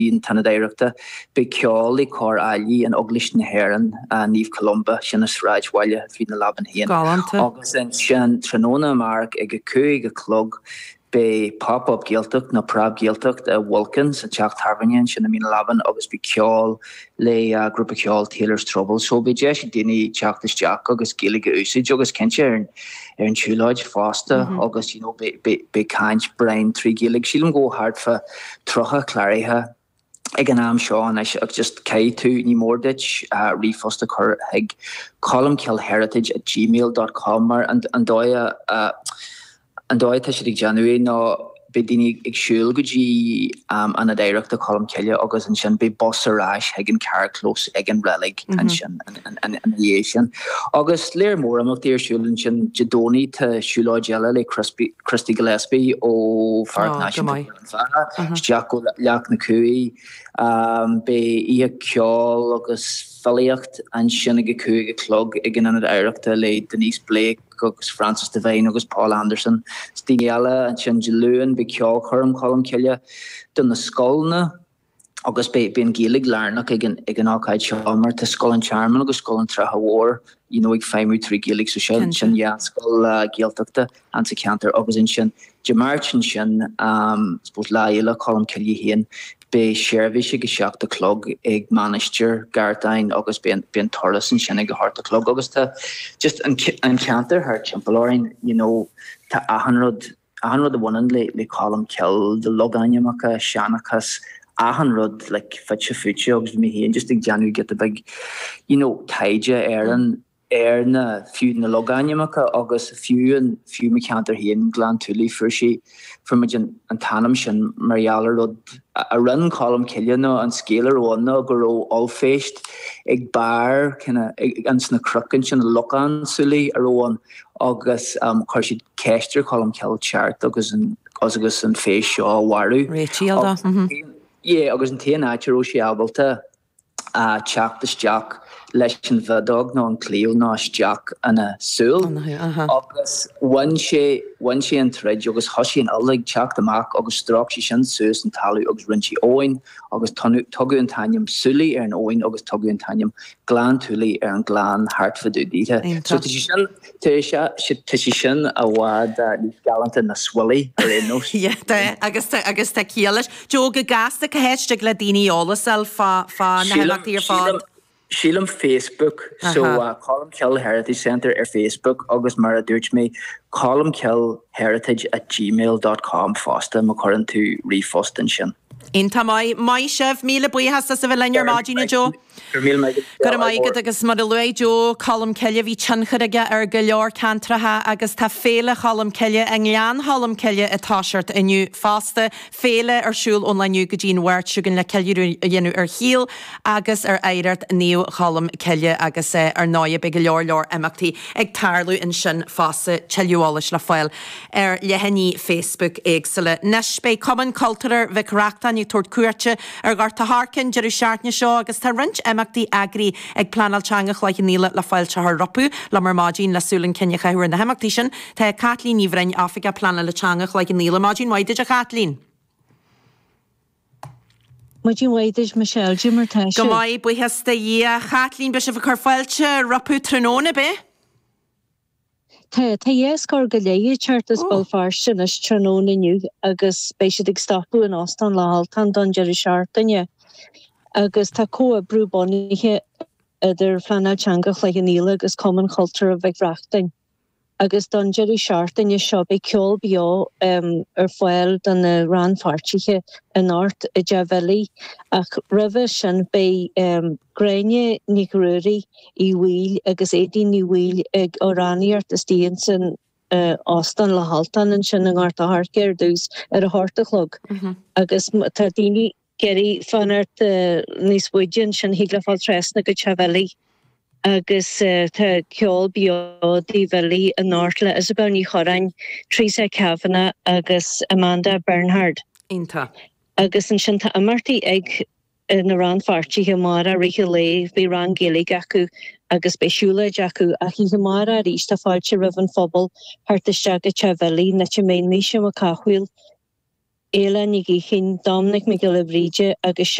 an tIonad Oidhreachta. Beidh ceol le Cór Áilí in Eaglais na hÉireann, Naomh Columba, sin i sráidbhaile Mhín na Leaban féin. Galánta. Agus ansin tráthnóna amárach ag a 5 a chlog beidh Pop Up Gaeltacht nó Preab Gaeltacht i Vulcan sa teach tábhairne ansin i Mín na Leaban agus beidh ceol le grúpa ceoil Taylor's Trouble. So beidh deis ag daoine teacht isteach agus Gaeilge a úsáid agus cinnte ar an ar an tsiúlóid fosta agus you know beidh caint Brian trí Ghaeilge. Sílim go bhfuil thart fá 30 cláraithe ag an am seo anois ach just caithfidh tú, ní mór duit ríomhphost a chur chuig colmcilleheritage at gmail dot com mar an dóigh a An dóigh atá siad ag déanamh é ná beidh daoine ag siúl go dtí Ionad Oidhreachta Cholmcille agus ansin beidh bus ar ais chuig an carrchlós ag an reilig ansin ina dhiaidh sin. Agus léar mór imeachtaí ar siúl ansin Dé Domhnaigh tá siúlóid eile le Christy Gillespie ó Pháirc Náisiúnta Ghleann Bheatha isteach go Leac na Cuaí. Beidh oíche ceoil agus filíocht ansin ag a 5 a chlog ag an Ionad Oidhreachta le Denise Blake agus Francis Devine agus Paul Anderson is daoine eile. Ansin Dé Luain beidh ceolchoirm Cholm Cille do na scoileanna agus beidh an Ghaeilge lárnach ag an ag an ócáid seo mar tá Scoil an Tearmainn agus Scoil an tSratha Mhóir you know ag feidhmiú trí Ghaeilge so sin sin dhá scoil Ghaeltachta an sa cheantar agus ansin Dé Máirt ansin I suppose Lá Fhéile Cholm Cille féin beidh seirbhís ag a 7 a chlog ag Mainistir Ghartáin agus beidh an turas ansin ag a 8 a chlog agus tá just an an ceantar thart timpeall orainn you know tá achan rud achan rud a bhaineann le le Colm Cille, na logainmneacha, seanchas, achan rud like fite fuaite agus bhí mé féin just ag déanamh giota beag you know taighde ar an ar na, fiú na logainmneacha agus fiú an, fiú mo cheantar féin, Gleann tSúilí, fuair sé, fuair muid an, an t-ainm sin mar gheall ar rud a rinne Colm Cille nó an scéal a raibh ann ná go raibh ollphéist ag barr kinda, ins na cnoic ansin, Lochán Súilí a raibh ann agus chuir siad ceist ar Cholm Cille teacht agus an, agus an phéist seo a mharú. Réitigh dó. Yeah, agus an t-aon áit a raibh sé ábalta teacht isteach leis an bhfeadóg nó an claíomh ná isteach ina súil agus bhain sé, bhain sé an troid agus thosaigh an fhuil ag teacht amach agus stróic sé sin suas an talamh agus rinne sé abhainn agus tugadh an t-ainm Súilí ar an abhainn agus tugadh an t-ainm Gleann tSúilí ar an ghleann thart fá dtaobh daoithe. So tá sé sin, tá sé, tá sé sin i bhfad níos galánta ná Swilly ar aon nós. Yeah, tá, agus tá, agus tá ciall leis. Joe, go gasta, cá háit a dtig le daoine eolas a fháil fá, fá na himeachtaí ar fad? Sílim Facebook, so Colmcille Heritage Centre ar Facebook agus mar a dúirt mé, colmcilleheritage at gmail dot com fosta má chuireann tú ríomhphost ansin. Iontach maith. Maith sibh. Míle buíochas as a bheith linn ar maidin, a Joe. Go raibh míle maith agat. Go raibh maith agat agus mar a luaigh Joe, Colm Cille, bhí tionchar aige ar go leor ceantracha agus tá Féile Cholm Cille i nGleann Cholm Cille ag toiseacht inniu fosta. Féile ar siúl ón lá inniu go dtí an Mháirt seo chugainn le ceiliúradh a dhéanamh ar shaol agus ar oidhreacht Naomh Cholm Cille agus ar ndóigh beidh go leor leor imeachtaí ag tarlú ansin fosta, tuilleadh eolais le fáil ar leathanaigh Facebook éagsúla. Anois beidh Cumann Cultúrtha Mhic Reachtain ag tabhairt cuairte ar Ghort a' Choirce an deireadh seachtaine seo agus tá roinnt imeachtaí eagraithe ag Pleanáil Teanga Chloich Cheann Fhaola le fáilte a chur rompu. Liom ar maidin le súil chun cinn a chaitheamh ar na himeachtaí sin tá Caitlín Ní Bhroin, Oifigeach Pleanála Teanga Chloich Cheann Fhaola. Maidin mhaith duit a Chaitlín. Maidin mhaith duit Michelle, Cad é mar tá Go maith, buíochas do Dhia. A Chaitlín, beidh sibh ag cur fáilte rompu tráthnóna, beidh? Tá, tá dhá scór go leith ag teacht as Béal Feirste anois tráthnóna inniu agus beidh siad ag stopadh in Óstán Loch Ultán don deireadh seachtaine. Agus tá comhoibriú bunaithe idir Phleanáil Teanga Chloich Cheann Fhaola agus Cumann Chultúrtha Mhic Reachtain. Agus don deireadh seachtaine seo beidh ceol beo ar fáil do na rannpháirtithe anocht i dTeach Bhilly. Ach roimhe sin beidh Gráinne Nic Ruairí Uí Bhaoill agus Aedín Ní Bhaoill ag amhránaíocht istigh ins an Óstán Loch Ultán ansin i nGort a' Choirce ar dtús ar a hocht a chlog agus má tá daoine ag iarraidh fanacht níos faide ansin thig leo fáil trasna go Teach Bhilly agus tá ceol beo i dTigh Bhilly anocht le Isabel Ní Chorráin, Teresa Kavanagh agus Amanda Bernhard. Iontach. Agus ansin tá imeachtaí ag na rannpháirtithe amárach i rith an lae, beidh rang Gaeilge acu agus beidh siúlóid acu. Ach oíche amárach arís tá fáilte roimh an phobal theacht isteach go Teach Bhilly, an áit a mbeidh Naoise Mac Cathmhaoil. Éile Nic Uichín, Dominic Mac Giolla Bhríde agus.